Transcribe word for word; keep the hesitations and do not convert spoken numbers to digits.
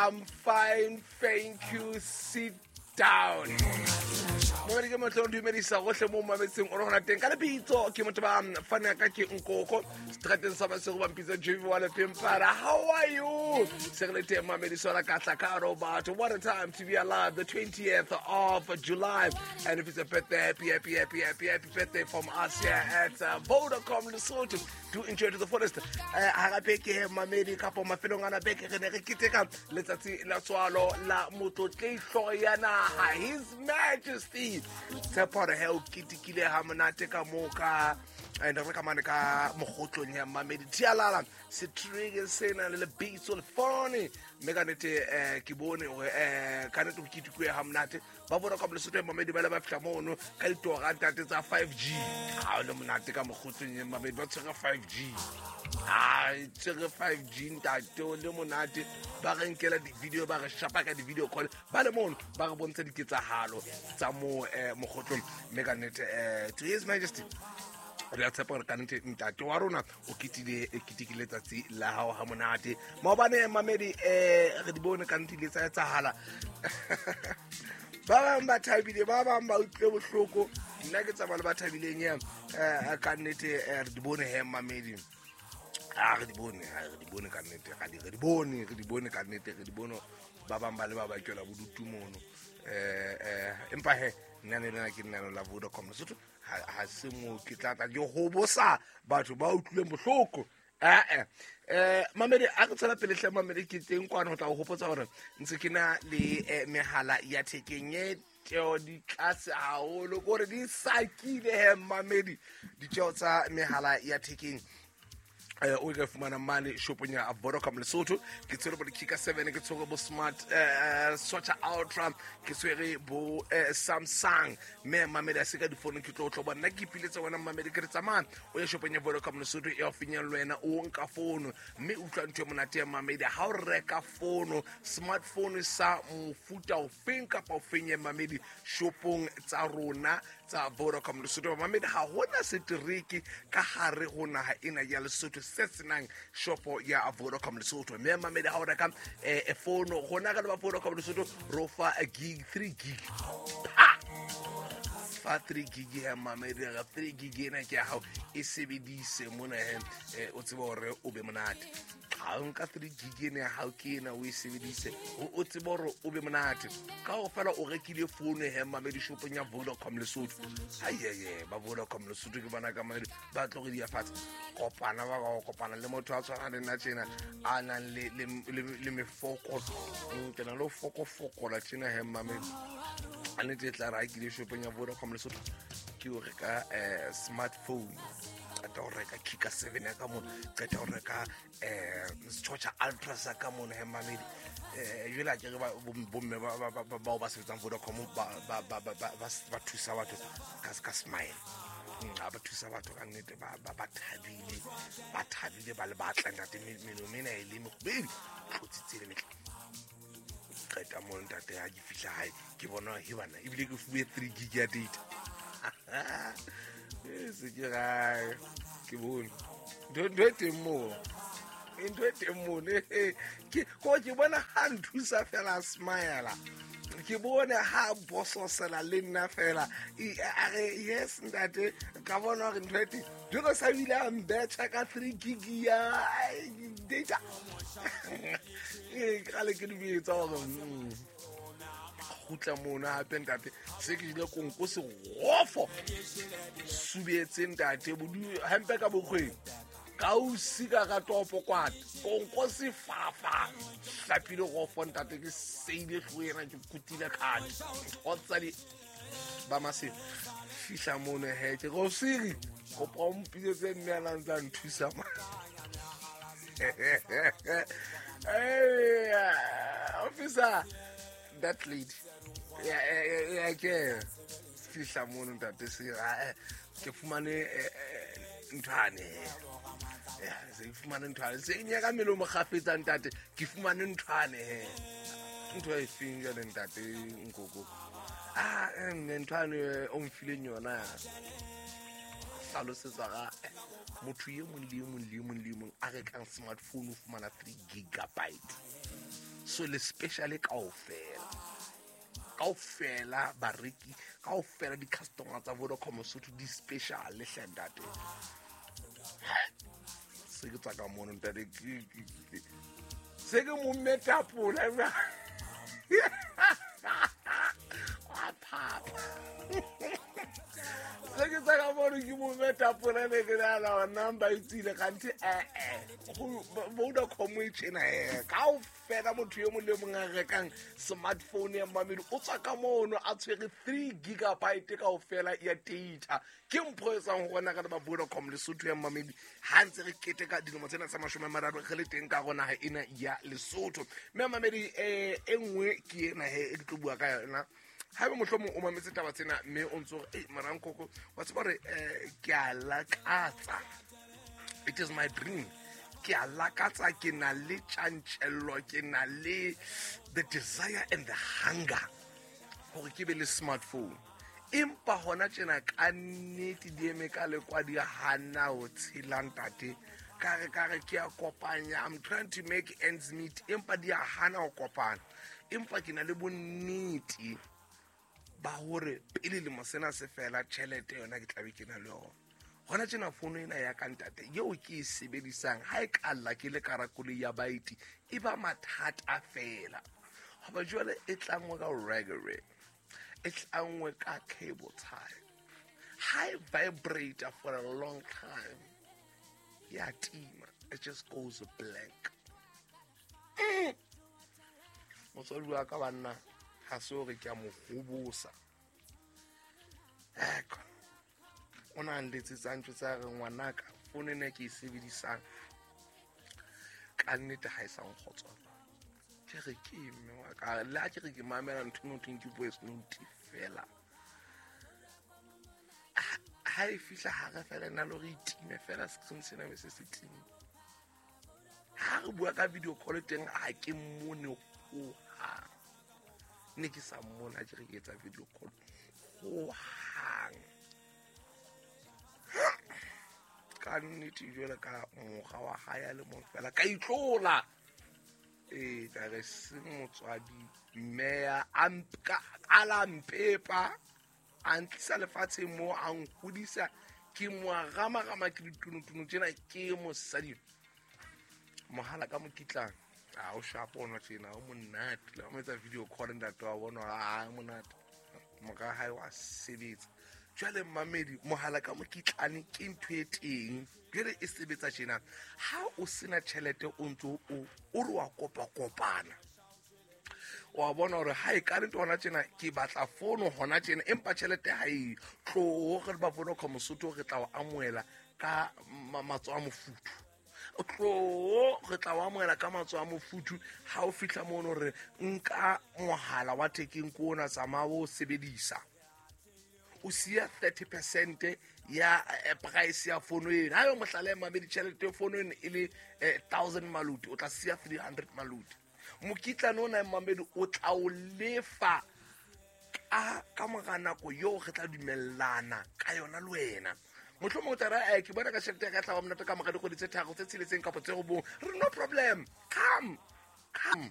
I'm fine, thank you. Sit down. Mamedi ke motho o dumedisa gohle mo mametseng o re gona teng ka lebitso ke motho ba fana ka ke nkoko strateng sa basego ba mpitsa J V wa Lefempara. How are you? Se re le teng mamedi sola ka tla ka robatho. What a time to be alive, the twentieth of July. And if it's a birthday, happy, happy, happy, happy, happy birthday from us here at uh, Vodacom Lesotho. Do enjoy to the fullest. Ha gape ke mamedi kapo mafelong ana beke re ne re keteka letsatsi la tswalo la motlotlehlo ya naha, His Majesty. Tshepo hore he o ketekile ha monate ka moo ka and re ka mane ka mogotlong ya mamedi Tialala setreke sena le lebitso le phone mme ka nnete eh ke bone hore eh ka nnete o ketekwe ha monate ba Vodacom Lesotho ya mamedi ba le ba fihla mono ka ditora ntate tsa five G. Ha o le monate ka mogotlong ya mamedi ba tshwere five G. Ah, tshwere five G ntate o le monate ba re nkela di-video ba re shapa ka di-video call ba le mono ba re bontsha diketsahalo tsa mo eh mogotlong mme ka nnete eh to His Majesty re a tshepa hore ka nnete ntate wa rona o ketile ketekile letsatsi la hao ha monate. Maobane mamedi eh re di bone ka nnete ile tsa etsahala. Ba bang ba thabile, ba bang ba utlwile bohloko. Nna ke tsamaya le ba thabileng ya eh ka nnete re di bone he mamedi. A re di bone, re di bone ka nnete, re di bone, re di bone ka nnete, re di bone ba bang ba le ba ba kela bodutu mono. Eh eh empa he nna ne lena ke nna la Vodacom Lesotho ha se mo ke tla tla ke hobosa batho ba utlwileng bohloko. Eh eh eh mamedi a re tswela pele hle mamedi ke teng kwana ho tla o hopotsa hore ntse ke na le mehala ya thekeng e tjeo di tlase haholo kore di sakile he mamedi ditjeo tsa mehala ya thekeng eh o ka fumana mane shopong ya Vodacom Lesotho. Ke tshwere bo Kika seven, ke tshwere bo Smart eh Swatch Ultra, ke tshwere bo Samsung. Mme mamedi a se ka difono ke tlo tlo bona ke ipiletse wena mamedi ke re tsamaya o ye shopong ya Vodacom Lesotho e haufinyana le wena o nka fono mme utlwa ntho e monate ya mamedi ha o reka fono smartphone sa mofuta ofeng kapa ofeng ya mamedi shopong tsa rona tsa Vodacom Lesotho. Mamedi ha hona setereke ka hare ho naha ena ya Lesotho se senang shopo ya Vodacom Lesotho. Mme mamedi ha o reka eh fono rona ka le ba Vodacom Lesotho ro fa a gig three gig. Ha! Fa three gig ya mamedi ga three gig ena ke ya hao e sebedise mona he o tsebe hore o be monate. Ha o nka three gig ena ya hao ke ena o e sebedise o tsebe hore o be monate. Ka ho fela o rekile fono he mamedi shopong ya Vodacom Lesotho. Ayeye ba Vodacom Lesotho ke bona ka mamedi ba tlo re di fatshe. Kopana ba ba kopana le motho a tshwana le nna tjena a nang le le le mefoko ke na le foko fokola tjena he mamedi a nnete tla ra ke le shopong ya Vodacom Lesotho ke o reka eh smartphone qeta ho reka Kika seven ya ka mona qeta ho reka eh Swatch Ultra sa ka mona he mamedi eh jwale a ke re ba bomme ba ba ba ba sebetsang Vodacom ba ba ba ba thusa batho ka ka smile a ba thusa batho ka nnete ba ba thabile ba thabile ba le batla ntate meno mena e le mokgwedi tlotsitse le metle qeta mo ntate ha ke fihla hae ke bona he bana ebile ke fuwe three gig ya data. E se ke gae ke bone ntho e teng moo ntho e teng moo ke ko ke bona ha nthusa fela smile ke bone ha bososela le nna fela a re yes ntate ka bona hore ntho e teng jalo sa bile a mbetšha ka three gig ya data. E kgale ke dibetsa hore kgutla mona hape ntate se ke jile konko segofo subetse ntate bodu hampe ka bokgweng ka o sika ka topo kwata konko sefafa hlapile gofo ntate ke seile hloena ke kutile khadi ntho di ba mase fihla mona he ke go siri kopa o mpitsetse mme a ntsa nthusa ma. Hey, officer, that lady. Yeah, yeah, yeah. Fihla mono ntate se ke fumane nthwane. Yeah, se fumane nthwane. Se nyaka melomo kgafetsa ntate, ke fumane nthwane. Ntho e feng jwale ntate nkoko. Ah, nthwane o mfileng yona. Hlalosetsa ga motho e mong le e mong le e mong le e mong a rekang smartphone o fumana three gigabyte. So le special kaofela, kaofela bareki, kaofela di-customer tsa Vodacom Mosotho di special hle ntate. Se ke tswa ka mono ntate, se ke mo metapola wa phapa. Se ke tswa ka mono ke mo metapola ne ke nahana number e tswile kganthe eh-eh Vodacom e tjena eh kaofela motho e mong le mong a rekang smartphone ya mmamedi o tswa ka mono a tshwere three gigabyte kaofela ya data. Ke mpho e tswang ho rona ka ba Vodacom Lesotho ya mmamedi ha ntse re keteka dilemo tsena tsa mashome a mararo re le teng ka rona ha ena ya Lesotho. Mme mmamedi eh e nngwe ke ena he e ke tlo bua ka yona. Haeba mohlomong o mametse taba tsena mme o ntso re eh marankoko wa tseba hore eh ke a lakatsa, it is my dream, ke a lakatsa, ke na le tjantjello, ke na le the desire and the hunger hore ke be le smartphone. Empa hona tjena ka nnete di eme ka lekwa di hana ho tshela ntate. Ka re ka re ke a kopanya, I'm trying to make ends meet, empa di a hana ho kopana. Empa ke na le bonnete ba hore pele lemo sena se fela tjhelete yona ke tla be ke na le yona. Hona tjena fono ena ya ka ntate eo ke e sebedisang ha e ka lla ke le karakole ya baeti e ba mathata fela. Hoba jwale e tlangwe ka reggae, e tlangwe ka cable tie, ha e vibrate for a long time ya tima, it just goes blank. Mm. Motswadi wa ka banna ha se hore ke a mo hobosa. Eko o na nletsetsa ntho tsa re ngwanaka fono ena ke e sebedisang ka nnete ha e sa nkgotsofatsa. Ke re ke mme wa ka le ha ke re ke mamela ntho eno thweng ke voice note fela, ha e fihla hare fela nna le hore e time fela screen sena be se se time. Ha re bua ka video call teng ha ke mmone hohang, ne ke sa mmona ha ke re ke etsa video call hohang. Ka nnete jwale ka mora wa hae a le mong fela ka itlola. Ee, ka re se motswadi mme a a la mpepa a ntlisa lefatsheng moo a nhodisa ke mo ramarama ke ditunutuno tjena ke mosadi mohala ka mokitlana a o shapo ona tjena o monate le o etsa video call ntate wa bona a monate mora hae wa sebetsa. Jwale mmamedi mohala ka mokitlane ke ntho e teng jwale e sebetsa tjena. Ha o sena tjhelete o ntso o o re wa kopa kopana wa bona hore ha e ka nnete hona tjena ke batla fono hona tjena empa tjhelete ha e tlo re ba Vodacom Mosotho re tla o amohela ka matsoho a mofuthu. Tlo re tla o amohela ka matsoho a mofuthu ha o fihla mono re nka mohala wa thekeng ko ona tsamaya o sebedisa. O siya thirty percent ya price ya fono ena. Ha yo mohlala e mabedi tjhelete fono ena e le thousand maluti o tla siya three hundred maluti. Mokitlane ona e mamedi o tla o lefa ka ka mora nako eo re tla dumellana ka yona le wena. Mohlomong o tla re eh ke bona ka tjhelete ya ka tla ba monate ka mora dikgwedi tse tharo tse tsheletseng kapa tse robong. Re no problem, come come.